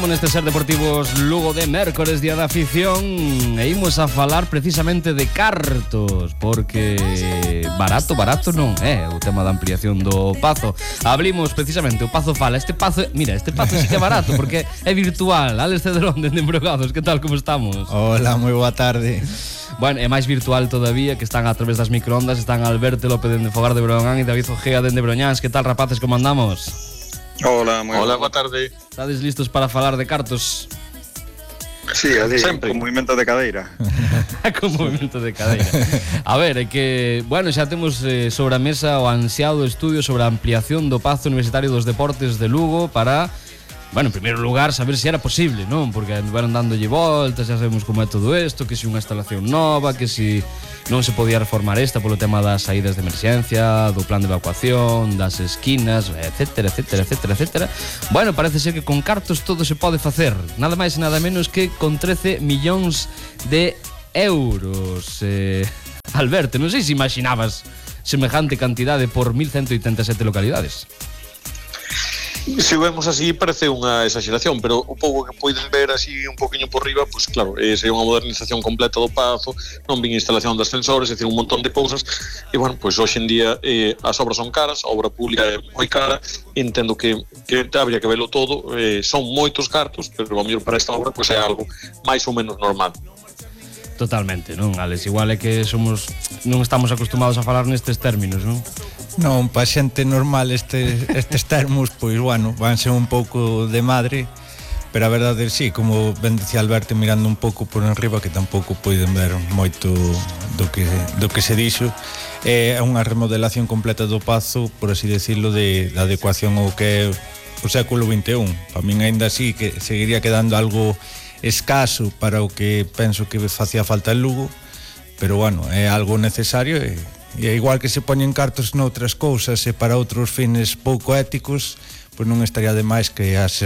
Neste Ser Deportivos Lugo de mércores, día da afición, e imos a falar precisamente de cartos, porque barato non é o tema da ampliación do Pazo. Abrimos precisamente o Pazo Fala. Este Pazo sí que é barato, porque é virtual. Alex Cedrón, dende Embrogados, que tal, como estamos? Hola, moi boa tarde. Bueno, é máis virtual todavía, que están a través das microondas. Están Alberto López dende Fogar de Broñán e David Ojea dende Broñáns. Que tal, rapaces, como andamos? Hola, boa tarde. Estades listos para falar de cartos? Sí, así, sempre. Con movimento de cadeira. Con movimento de cadeira. A ver, é que, bueno, xa temos sobre a mesa o ansiado estudio sobre a ampliación do Pazo Universitario dos Deportes de Lugo para, bueno, en primeiro lugar, saber se era posible, non? Porque andaron dándolle voltas, xa sabemos como é todo isto, que se unha instalación nova, que se non se podía reformar esta polo tema das saídas de emerxencia, do plan de evacuación, das esquinas, etcétera. Bueno, parece ser que con cartos todo se pode facer, nada máis e nada menos que con 13 millóns de euros. Alberto, non sei se imaginabas semejante cantidade por 1187 localidades. Se o vemos así parece unha exageración, pero o pouco que podes ver así un poquinho por riba, pues claro, sería unha modernización completa do Pazo, non vin instalación de ascensores, é dicir, un montón de cousas, e bueno, pues hoxe en día as obras son caras, a obra pública é moi cara, entendo que habría que velo todo, son moitos cartos, pero a mellor para esta obra pues é algo máis ou menos normal. Totalmente, non, Alex? Igual é que non estamos acostumados a falar nestes términos, non? Non, pa xente normal estes termos, pois, bueno, vanse un pouco de madre, pero a verdade, sí, como ben dicía Alberto, mirando un pouco por enriba, que tampouco poden ver moito do que se dixo, é unha remodelación completa do Pazo, por así decirlo, de adecuación ao que é o século XXI. Para min ainda así que seguiría quedando algo escaso para o que penso que facía falta en Lugo, pero bueno, é algo necesario e igual que se poñen cartos noutras cousas e para outros fines pouco éticos, pois non estaría de máis que as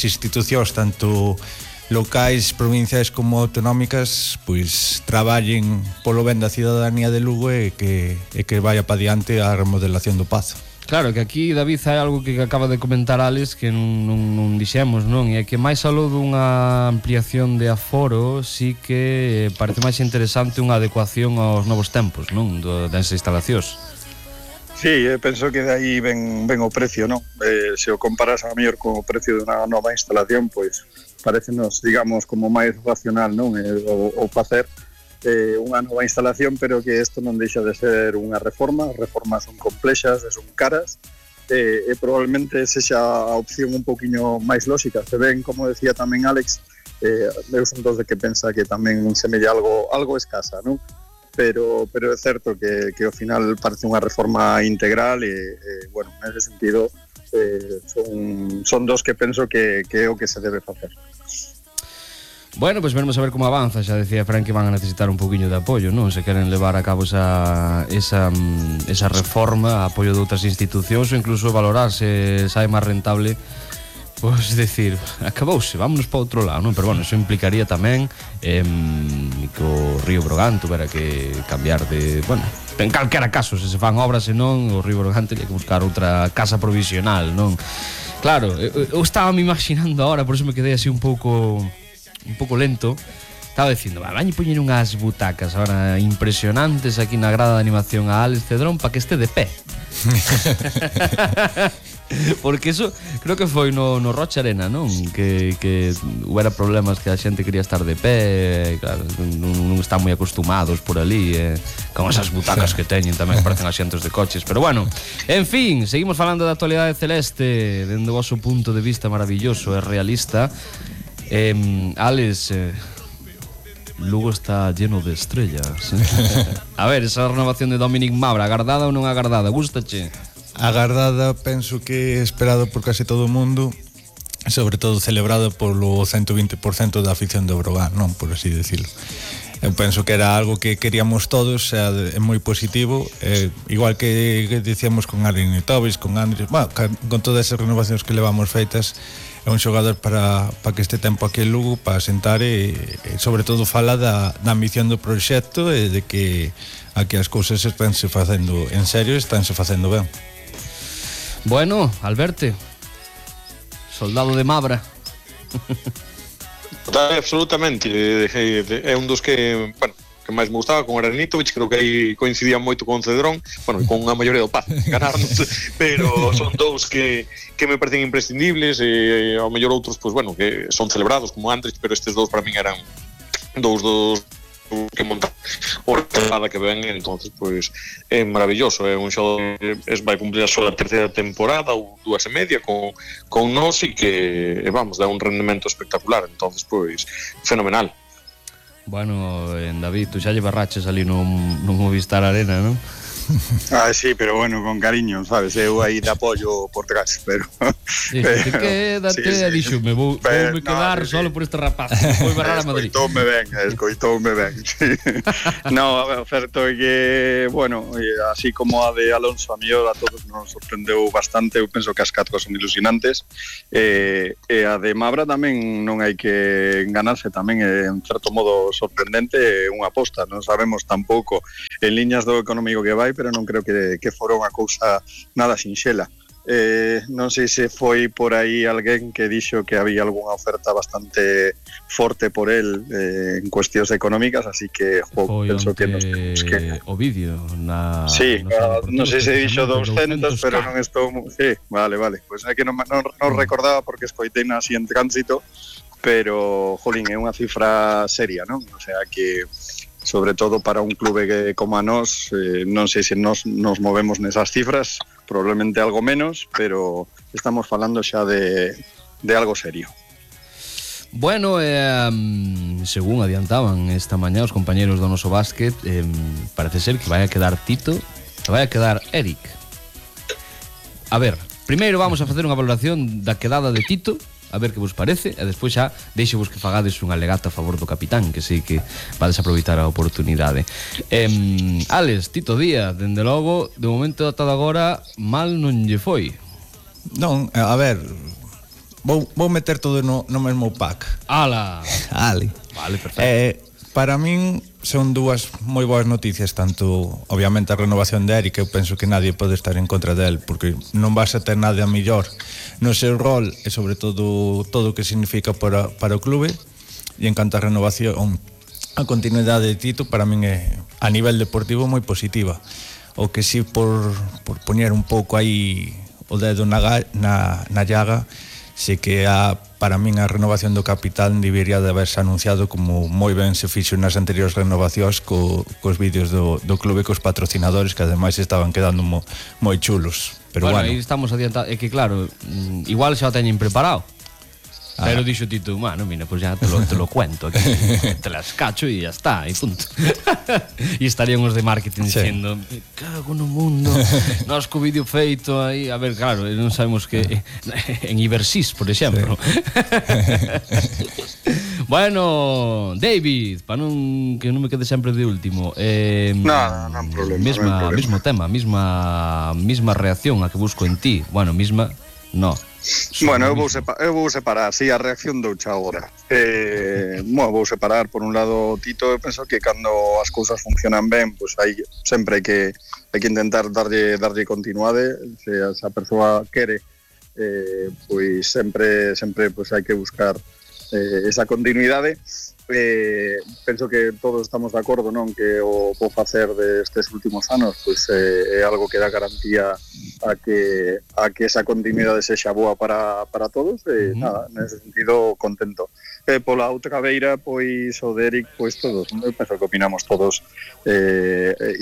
institucións tanto locais, provinciais como autonómicas pois traballen polo ben da cidadanía de Lugo e que vaya pa diante a remodelación do Pazo. Claro, que aquí, David, hai algo que acaba de comentar Alex que non dixemos, non? E é que máis aló dunha ampliación de aforo, sí que parece máis interesante unha adecuación aos novos tempos, non? Das instalacións. Sí, penso que de aí ven o precio, non? Se o comparas a mellor co precio dunha nova instalación, pois parecenos, digamos, como máis racional, non? O facer unha nova instalación, pero que isto non deixa de ser unha reforma. As reformas son complexas e son caras, e probablemente sexa a opción un poquinho máis lóxica. Se ven, como decía tamén Alex, eu son dos de que pensa que tamén semella algo escasa, non? Pero é certo que ao final parece unha reforma integral e bueno, nese sentido son dos que penso que é o que se debe facer. Bueno, pois veremos a ver como avanza. Xa decía Fran que van a necesitar un poquinho de apoio, non? Se queren levar a cabo esa reforma, apoio de outras institucións ou incluso valorar se sai máis rentable, pois decir, acabouse, vámonos para outro lado, non? Pero bueno, eso implicaría tamén que o Río Brogán tuvera que cambiar de, bueno, en calquera caso, se fan obras, senón o Río Brogán teria que buscar outra casa provisional, non? Claro, eu estaba me imaginando ahora, por eso me quedei así un pouco lento. Estaba dicindo, vañe poñer unhas butacas ahora impresionantes aquí na grada de animación a Alex Cedrón para que este de pé. Porque eso creo que foi no Rocha Arena, non? Que hubiera problemas que a xente quería estar de pé, claro, non están moi acostumados por ali, con esas butacas que teñen tamén parecen asientos de coches. Pero bueno, en fin, seguimos falando da actualidade celeste dende o vosso punto de vista maravilloso e realista. Alex, Lugo está lleno de estrellas. A ver, esa renovación de Dominic Mabra, agardada ou non agardada? Gústache? Agardada, penso que esperado por case todo o mundo, sobre todo celebrado polo 120% da afición do Brogan, non? Por así decirlo. Eu penso que era algo que queríamos todos, é moi positivo, igual que dicíamos con Aaron Tobis, con Andrés, bueno, con todas esas renovacións que levamos feitas. É un xogador para que este tempo aquí en Lugo para sentar e sobre todo fala da ambición do proxecto e de que aquí as cousas estánse facendo en serio e estánse facendo ben. Bueno, Alberto, soldado de Mabra, Absolutamente. É un dos que, bueno, que máis me gustaba con Aranitovic, creo que aí coincidía moito con Cedrón, bueno, con a maioría do Paz, ganarnos, pero son dous que me parecen imprescindibles, e ao mellor outros, pues bueno, que son celebrados como Andrich, pero estes dous para min eran dous que montar o temporada que ven, entonces pues é maravilloso, é un xogo vai cumplir a súa terceira temporada ou 2 e media con nós e que vamos, dá un rendemento espectacular, entonces pues fenomenal. Bueno, David, tú xa lle barraches ali no Movistar Arena, non? Sí, pero bueno, con cariño, sabes, eu aí de apoio por detrás, pero... Te quédate, dixo, me vou me quedar solo por este rapaz, vou barrar a Madrid. Escoitoume ben, sí. No, a ver, certo é que, bueno, así como a de Alonso, a mellor a todos nos sorprendeu bastante, eu penso que as 4 son ilusionantes, e a de Mabra tamén non hai que enganarse, tamén é en certo modo sorprendente, unha aposta, non sabemos tampouco en liñas do económico que vai, pero non creo que fora unha cousa nada sinxela. Non sei se foi por aí alguén que dixo que había algunha oferta bastante forte por el en cuestións económicas, así que penso que nos temos que... O vídeo sí, non sei se dixo 200, pero non estou... Sí, vale, pois é que non recordaba porque escoitei así en tránsito, pero, jolín, é unha cifra seria, non? O sea que... sobre todo para un clube que como a nós, non sei se nos movemos nesas cifras, probablemente algo menos, pero estamos falando xa de algo serio. Bueno, según adiantaban esta mañá os compañeros do noso básquet, parece ser que vai a quedar Tito, que vai a quedar Eric. A ver, primeiro vamos a facer unha valoración da quedada de Tito, a ver que vos parece, e despois xa deixo-vos que fagades un alegato a favor do capitán, que sei que vades aproveitar a oportunidade. Alex, Tito Díaz, dende logo, de momento ata agora mal non lle foi. Non, a ver, vou meter todo no mesmo pack. Ala! Ale. Vale, perfecto. Para min son dúas moi boas noticias, tanto obviamente a renovación de Eric, eu penso que nadie pode estar en contra del, porque non vas a ter nada mellor no seu rol e sobre todo o que significa para o clube. E en canto a renovación, a continuidade de Tito para min é a nivel deportivo moi positiva. O que si por poñer un pouco aí o dedo na llaga, sei que para min a renovación do capitán debería de haberse anunciado como moi ben se fixo nas anteriores renovacións cos vídeos do clube, cos patrocinadores, que ademais estaban quedando moi chulos. Pero bueno, aí estamos adiantados, é que claro, igual xa o teñen preparado. Pero dixo Tito, bueno, mira, pues ya te lo cuento aquí, te las cacho y ya está, y punto. E estarían os de marketing diciendo, me cago no mundo, nos co vídeo feito aí, a ver, claro, non sabemos que en Ibersys, por exemplo. Bueno, David, para que non me quede sempre de último, non problema, mismo tema, misma reacción a que busco en ti. Bueno, misma, no. Bueno, eu vou separar, sí, a reacción doucha agora. Vou separar, por un lado, Tito, eu penso que cando as cousas funcionan ben, pois hai sempre hai que intentar darlle continuidade, se a persoa quere, pois sempre pois hai que buscar esa continuidade. Penso que todos estamos de acordo, non, que o facer destes últimos anos pois é algo que dá garantía a que esa continuidade sexa boa para todos e nada, nese sentido contento. Pola outra beira, pois o de Eric, pois todos, eu penso que opinamos todos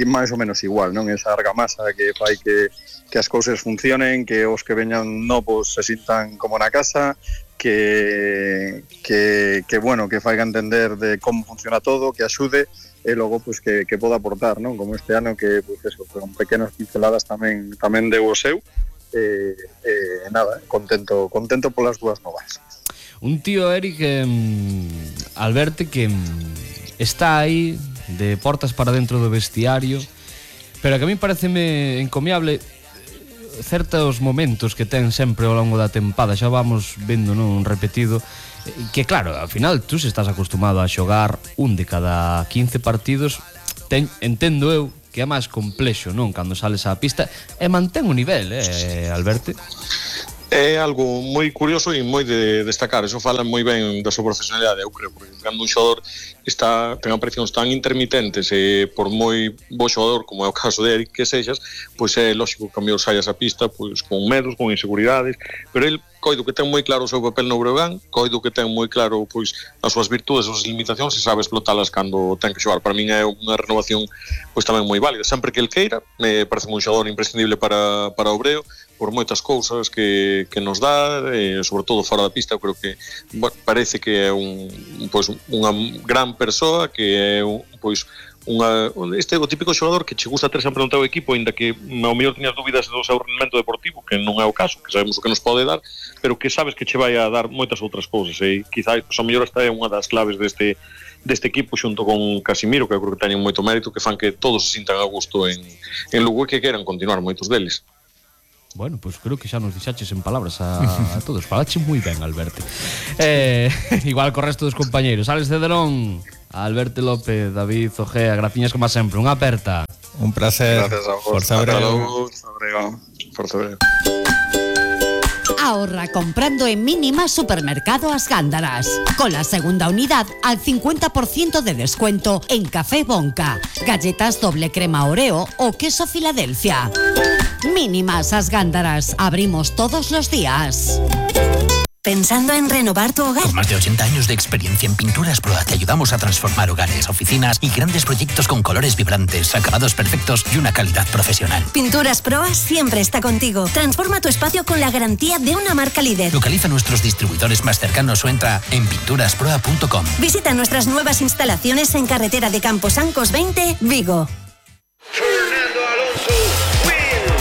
máis ou menos igual, non? Esa argamasa que fai que as cousas funcionen, que os que veñan novos se sintan como na casa, que bueno, que faiga entender de como funciona todo, que axude e logo pues que poda aportar, non? Como este ano que pues eso, con pequenas pinceladas tamén deu o seu nada, contento polas dúas novas. Un tío Eric al verte que está aí de portas para dentro do vestiario, pero que a mí pareceme encomiable certos momentos que ten sempre ao longo da tempada, xa vamos vendo, non, repetido, que claro, ao final tú se estás acostumado a xogar un de cada 15 partidos, entendo eu que é máis complexo, non, cando sales á pista e mantén o nivel, Alberto? É algo moi curioso e moi de destacar. Eso fala moi ben da súa profesionalidade, eu creo, porque cando un xogador ten aparicións tan intermitentes e por moi bo xogador como é o caso de Eric que sexas, pois é lógico que cambiou saias a pista pois con medos, con inseguridades, pero el coido que ten moi claro o seu papel no Breogán, coido que ten moi claro pois as súas virtudes, as súas limitacións e sabe explotalas cando ten que xogar. Para min é unha renovación pois tamén moi válida, sempre que el queira. Me parece un xogador imprescindible para o Breo por moitas cousas que nos dá, sobre todo fora da pista. Eu creo que parece que é unha gran persoa, que é o típico xogador que che gusta ter sempre no teu equipo, ainda que ao mellor teñas dúbidas do seu rendemento deportivo, que non é o caso, que sabemos o que nos pode dar, pero que sabes que che vai a dar moitas outras cousas, e quizás ao mellor esta é unha das claves deste equipo xunto con Casimiro, que eu creo que teñen moito mérito, que fan que todos se sintan a gusto en Lugo e que queran continuar moitos deles. Bueno, pues creo que xa nos dixaches en palabras a todos. Falache moi ben, Alberto. Igual co resto dos compañeiros. Alex Cederón, Alberto López, David Ojea, graciñas como sempre. Unha aperta. Un placer. Gracias a vos. Forza Breo. Forza Breo. Ahorra comprando en Mínima Supermercado As Gándaras. Con la segunda unidad al 50% de descuento en café Bonca, galletas doble crema Oreo o queso Filadelfia. Mínimas As Gándaras. Abrimos todos los días. ¿Pensando en renovar tu hogar? Con más de 80 años de experiencia en Pinturas Proa te ayudamos a transformar hogares, oficinas y grandes proyectos con colores vibrantes, acabados perfectos y una calidad profesional. Pinturas Proa siempre está contigo. Transforma tu espacio con la garantía de una marca líder. Localiza nuestros distribuidores más cercanos o entra en pinturasproa.com. Visita nuestras nuevas instalaciones en carretera de Camposancos 20, Vigo.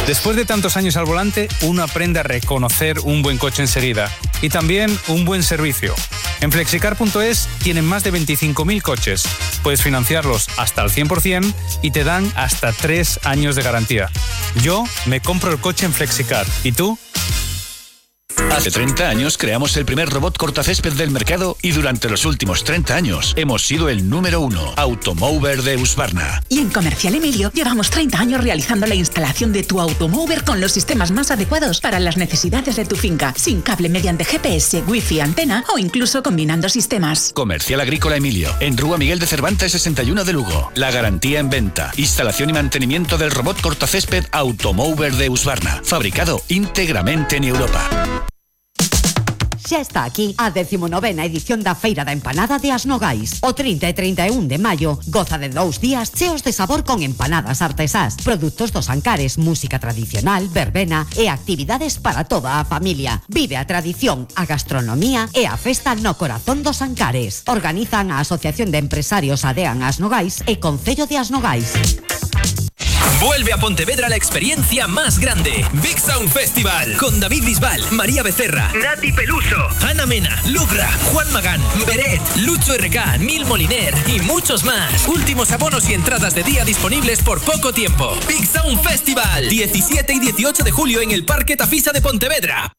Después de tantos años al volante, uno aprende a reconocer un buen coche enseguida y también un buen servicio. En Flexicar.es tienen más de 25.000 coches. Puedes financiarlos hasta el 100% y te dan hasta 3 años de garantía. Yo me compro el coche en Flexicar. ¿Y tú? Hace 30 años creamos el primer robot cortacésped del mercado y durante los últimos 30 años hemos sido el número 1, Automover de Husqvarna. Y en Comercial Emilio llevamos 30 años realizando la instalación de tu Automover con los sistemas más adecuados para las necesidades de tu finca, sin cable mediante GPS, Wi-Fi, antena o incluso combinando sistemas. Comercial Agrícola Emilio, en Rúa Miguel de Cervantes 61 de Lugo. La garantía en venta, instalación y mantenimiento del robot cortacésped Automover de Husqvarna, fabricado íntegramente en Europa. Xa está aquí a 19ª edición da Feira da Empanada de As Nogais. O 30 e 31 de maio goza de 2 días cheos de sabor con empanadas artesás, produtos dos Ancares, música tradicional, verbena e actividades para toda a familia. Vive a tradición, a gastronomía e a festa no corazón dos Ancares. Organizan a Asociación de Empresarios Adean As Nogais e Concello de As Nogais. Vuelve a Pontevedra la experiencia más grande. Big Sound Festival. Con David Bisbal, María Becerra, Nati Peluso, Ana Mena, Lugra, Juan Magán, Beret, Lucho RK, Nil Moliner y muchos más. Últimos abonos y entradas de día disponibles por poco tiempo. Big Sound Festival. 17 y 18 de julio en el Parque Tafisa de Pontevedra.